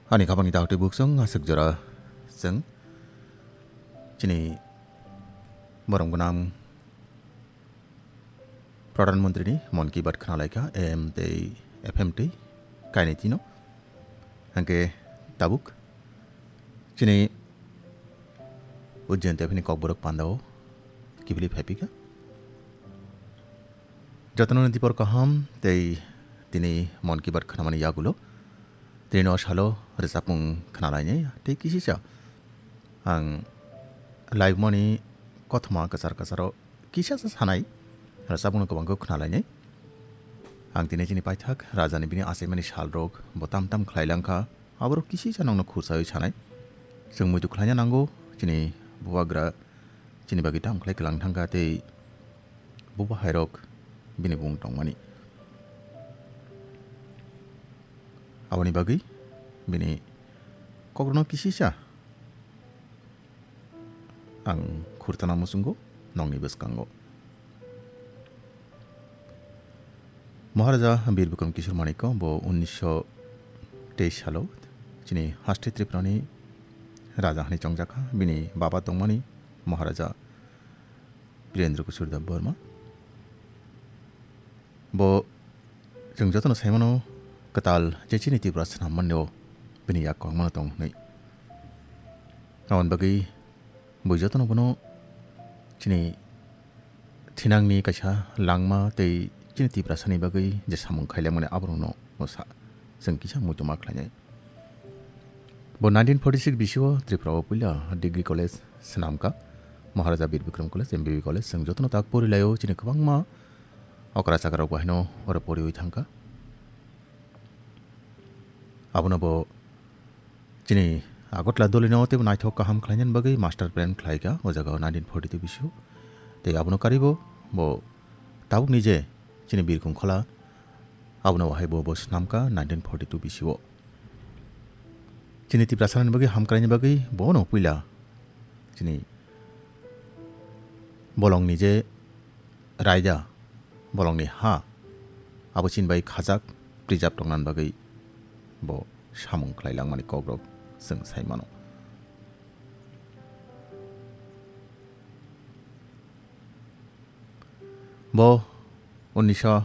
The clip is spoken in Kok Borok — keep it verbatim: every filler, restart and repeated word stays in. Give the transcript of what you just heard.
Ani khabangni daktwi buksong aswk jora chwng chini borom gwnang Pradhan Mantri ni Mon Ki Baat khna laikha A M tei F M twi kainwi tino. Hwnkhe tabuk chini Ujjain tei phini Kokborok pandao kiphilwi phaiphikha. Jotono ni dipor kaham tei tini Mon Ki Baat khnamani yagulo tini no salo rwchapmung khnalainai tei kisisa ang live mani kothoma kwchar kwcharo kisasa sanai rwchapmung no kwbangkhe khnalainai. Ang tini chini paithak rajani bini achaimani salrok bo tam tam khlai langkha. Aborok kisisa nokno khursawi sanai. Chwng muitu khlaina nango, chini bubagra chini bagwi tamo khlai kwlang thangkha tei bubahairok bini bung tongmani. Aboni bagwi bini kokrokno kisisa ang khurtana muchungo nokni bwskango. Maharaja Bir Bikram Kishore Manikya bo unnisho teis salo chini haste Tripurani raja hwnwi chongjakha. Bini baba tongmani Maharaja Birendra Kishore Debbarma. Bo chwng jotono saimano kwtal je chini Tripura swnam manlio bini yak kwbangmano tong hwnwi. Aboni bagwi bo jotono bono chini thinangni kaisa langma tei chini Tiprasani bagwi je samung khailangmani aborokno bo sa chwng kisa muitu ma khlainai. Bo nineteen forty six bisio Tripura o puila degree college swnamkha. Maharaja Bir Bikram College, M B B College, chwng jotono tak porilaio chini kwbangma okra chakrok bahaino oro poriwi thangkha. Abono bo chini Agartala dolino teibo naithok kaham khlainani bagwi master plan khlaikha o jagao nineteen forty two bisio. Tei abono karibo bo tabukni je chini Birkong Khola abono wahai bo bo swnamkha nineteen forty two bisio. Chini Tiprasani bagwi hamkraini bagwi bono puila chini bolongni je raida, bolongni ha, abo chini bai khajak, preserve tongnani bagwi bo samung khlai langmani kokrok chwng sai mano. Bo unnisho